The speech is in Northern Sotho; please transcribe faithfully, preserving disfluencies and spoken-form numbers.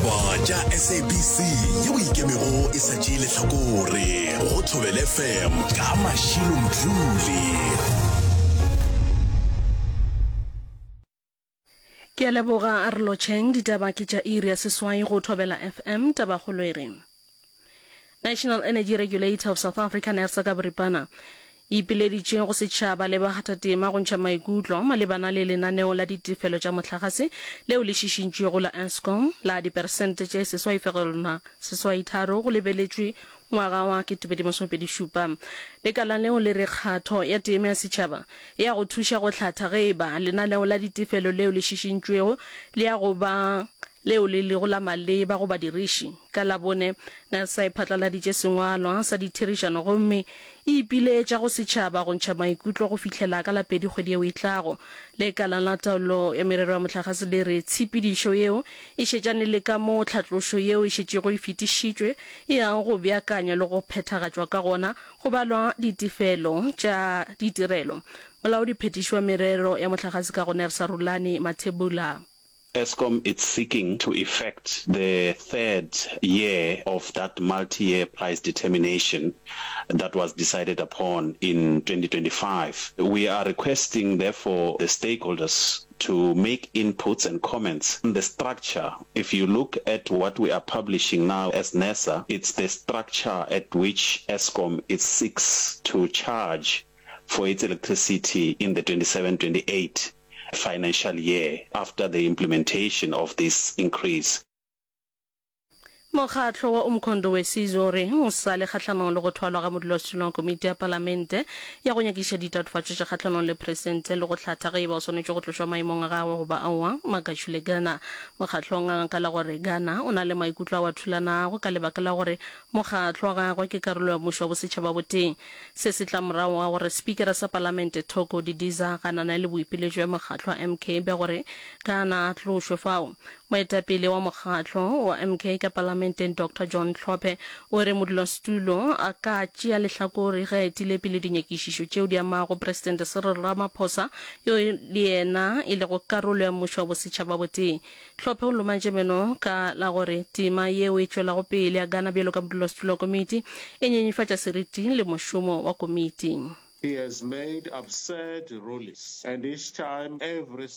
Ditaba tša S A B C yeo ikemego e sa tšee lehlakore go Thobela F M ka Mashilo Mdluli. Ke a leboga, a re lotšheng. Ditaba ke tša iri ya seswai go Thobela F M. Tabakgolo e re National Energy Regulator of South Africa, NERSA ka boripana, e ipileditše go setšhaba le bakgathatema go ntšha maikutlo malebana le lenaneo la ditefelo tša mohlagase leo le šišintšwego la Eskom la diperesente tše seswai fegelwana seswai tharo go lebeletšwe ngwaga wa ketepedi masomepedi šupa. Lekala leo le re kgatho ya tema ya setšhaba e ya go thuša go hlatha ge e ba lenaneo la ditefelo leo le šišintšwego le ya go ba leo le lego la maleba go badiriši. Ka Labone, NERSA e phatlaladitše sengwalwa sa ditherišano gomme e ipiletša go setšhaba go ntšha maikutlo go fihlela ka la pedi kgwedi yeo e tlago. Lekala la Taolo ya Merero ya Mohlagase le re tshepedišo yeo e šetšane le ka moo tlhatlošo yeo e šetšego e fetišitšwe e yago go beakanywa le go phethagatšwa ka gona go balwa ditefelo tša ditirelo. Molaodi-phethiši wa Merero ya Mohlagase ka go NERSA Rhulani Mathebula. Eskom is seeking to effect the third year of that multi-year price determination that was decided upon in twenty twenty-five. We are requesting, therefore, the stakeholders to make inputs and comments on the structure. If you look at what we are publishing now as NERSA, it's the structure at which Eskom is seeks to charge for its electricity in the twenty-seven twenty-eight financial year after the implementation of this increase. Mokgatlo wa Umkhonto we Sizwe o re o sa le kgahlanong le go thwalwa ga modulasetulo wa komiti ya palamente ya go nyakišiša ditatofatšo tša kgahlanong le presente le go hlatha ge e ba o swanetše go tlošwa maemong a gagwe goba aowa, Makashule Gana. Mokgatlo o nganga ka la gore Gana o na le maikutlo ao a thulanago ka lebaka la gore mokgatlo wa gagwe ke karolo ya mmušo wa bosetšhaba botee. Se se tla morago ga gore spikara sa palamente Thoko Didiza a ganane le boipiletšo bja mokgatlo wa M K bja gore Gana a tlošwe fao. Moetapele wa mokgatlo wa M K ka palamenteng Doctor John Hlophe o re modulasetulo a ka tšea lehlakore ge a etile pele dinyakišišo tšeo di amago Presidente Cyril Ramaphosa yo le yena e lego karolo ya mmušo wa bosetšhaba botee. Hlophe o lomantše meno ka la gore tema yeo e tšwelago pele ya Gana bjalo ka modulasetulo wa komiti e nyenyefatša seriti le mošomo wa komiti. He has made absurd rulings, and each time every